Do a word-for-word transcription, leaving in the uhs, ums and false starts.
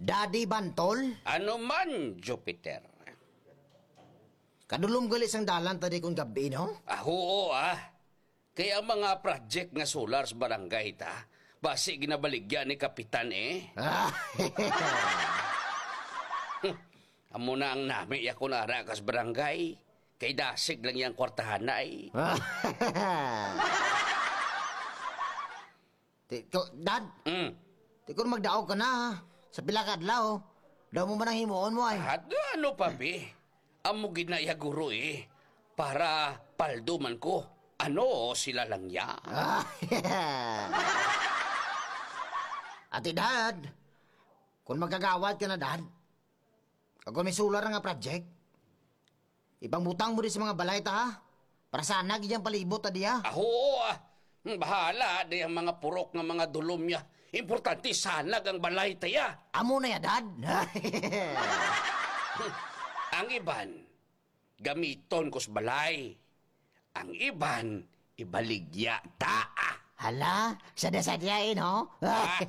Daddy Bantol? Ano man, Jupiter? Kadulom gali sang dalan ta di kon gab-i, no? Ah, oo, ah. Kay ang mga project nga solar sa barangay ta, basi ginabaligya ni Kapitan, eh. Ah. Amo na ang nami ya kon ara kas barangay. Kay dasig lang yang kwartahan na, eh. Ti-, ko, Dad, Mm. ti kon magdaog ka na, ha? Sa pila ka adlaw, daw mo man ang himuon mo, ay. At ano pa, bi? Amo gid na iya guro, eh. Para paldo man ko. Ano, sila lang ya. Ah, Ate Dad, kung magkagawad ka na, Dad, kag kung may solar nga project, ipangbutang mo di sa mga balay ta, ha? Para sana gid ang palibot ta diya. Ah, oo, ah. Hmm, bahala di ang mga purok nga mga dulom niya. Importante, sanag ang balay ta ya. Amo na ya, Dad. Ang iban, gamiton ko sa balay. Ang iban, ibaligya ta. Hala, sadya-sadya, eh, no? Ah.